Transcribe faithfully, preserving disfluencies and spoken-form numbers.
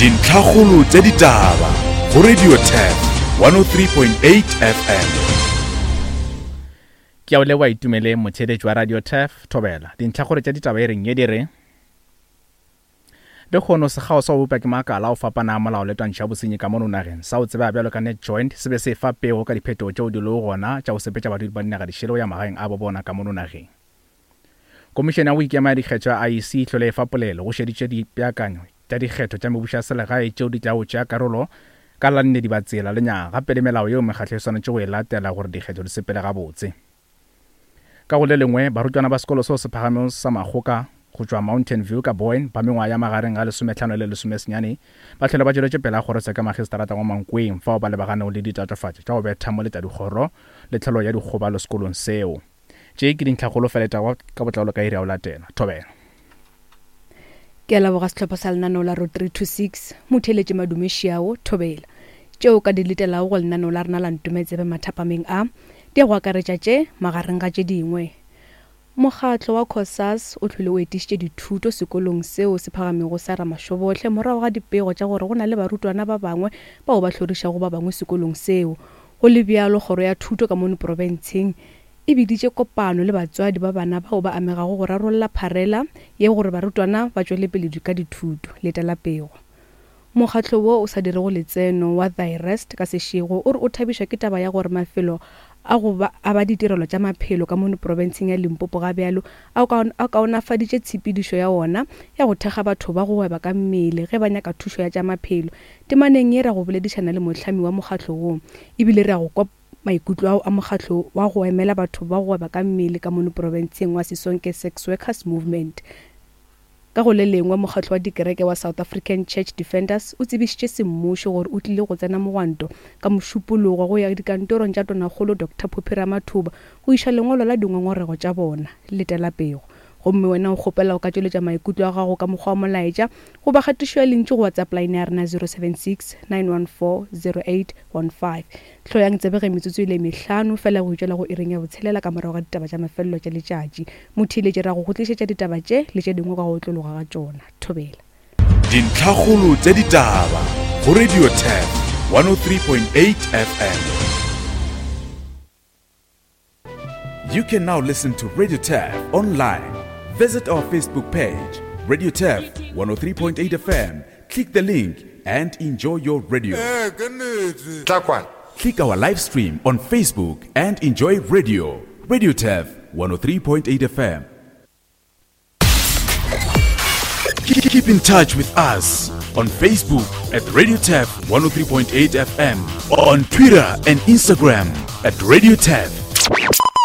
Dintlhakgolo tša ditaba go Radio Turf one oh three point eight F M. Ke a o leboha Itumeleng, motheeletši wa Radio Turf, Thobela. Dintlhakgolo tša ditaba e reng ye di re Lekgono sekgao sa go bopa ke makala a go fapana a molao le twantšho ya bosenyi ka mono nageng sa go tseba bjalo ka Net Joint se be se fa pego ka diphetogo tšeo di lego gona tša go sepetša badudi ba dinaga dišele go ya magaeng a bo bona ka mono nageng. Komišene ya go ikema ya dikgetho ya I E C e hlole e fa polelo go šeditše dipeakanyo tša dikgetho tša mebušo ya selegae tšeo di tlago tšea karolo ka la nne dibatsela le nyaga gape le melao yeo mekgatlo e swanetše go e latela gore dikgetho di sepele gabotse. Ka go le lengwe, barutwana ba sekolo seo se phagamego sa Makgoka go tšwa Mountain View ka Boyne ba mengwaga ya magareng ga lesometlhano le lesomesenyane ba hlole ba tšweletše pele a kgorotsheko ya magistrata wa Mankweng fao ba lebaganego le ditatofatšo tša go betha mo le tša dikgoro le tlholo ya dikgobalo sekolong seo. Tše ke dintlhakgolo fela tša ka botlalo ka iri ya go latela. Thobela. Ke a leboga sehlopha sa lenaneo la Road three two six, motheeletše Madume Šiao, Thobela. Tšeo ka di letelago go lenaneo la rena la Ntometsebe mathapameng a, di a go akaretša tše magareng ga tše dingwe. Mokgatlo wa COSAS o hlwele o etišitše dithuto sekolong seo se phagamego sa Ramashobohle morago ga dipego tša gore go na le barutwana ba bangwe bao ba hlorišago ba bangwe sekolong seo. Go le bjalo, kgoro ya thuto ka mono profenseng e biditše kopano le batswadi ba bana bao ba amegago go rarolla pharela ye gore barutwana ba tšwele pele ka dithuto. Letela pego. Mokgatlo wo o sa dirego letseno wa Thyrest ka sešego o re o thabišwa ke taba ya gore mafelo a go ba a ba ditirelo tša maphelo ka mono profenseng ya Limpopo ga bjalo a a kaonafaditše tshepedišo ya ona ya go thekga batho ba go gweba ka mmele ge ba nyaka thušo ya tša maphelo. Temaneng ye ra go boledišana le mohlami wa mokgatlo wo, ebile re a go kwa maikutlo ao a mokgatlo wa go emela batho ba go gweba ka mmele ka mono profenseng wa Sisonke Sex Workers Movement. Ka go le lengwe, mokgatlo wa dikereke wa South African Church Defenders o tsebišitše semmušo gore o tlile go tsena mogwanto ka mošupologo go ya dikantorong tša tonakgolo Doctor Phophi Ramathuba go iša lengwalo la dingongorego tša bona. Letela pego. Gomme wena o kgopela o ka tšweletša maikutlo a gago ka mokgwa wa molaetša goba kgatišo ya lentšu go WhatsApp line ya rena zero seven six, nine one four, zero eight one five. Hloyang tsebe ge metsotso e le mehlano fela go itšwela go iring ya botshelela ka morago ga ditaba tša mafelelo tša letšatši. Motheeletši ra go go tlišetša ditaba tše le tše dingwe ka go otlologa ga tšona. Thobela. Dintlhakgolo tša ditaba go Radio Turf one oh three point eight F M. You can now listen to Radio Turf online. Visit our Facebook page, Radio Turf one oh three point eight F M. Click the link and enjoy your radio. Click our live stream on Facebook and enjoy radio. Radio Turf one oh three point eight F M. Keep in touch with us on Facebook at Radio Turf one oh three point eight F M, on Twitter and Instagram at Radio Turf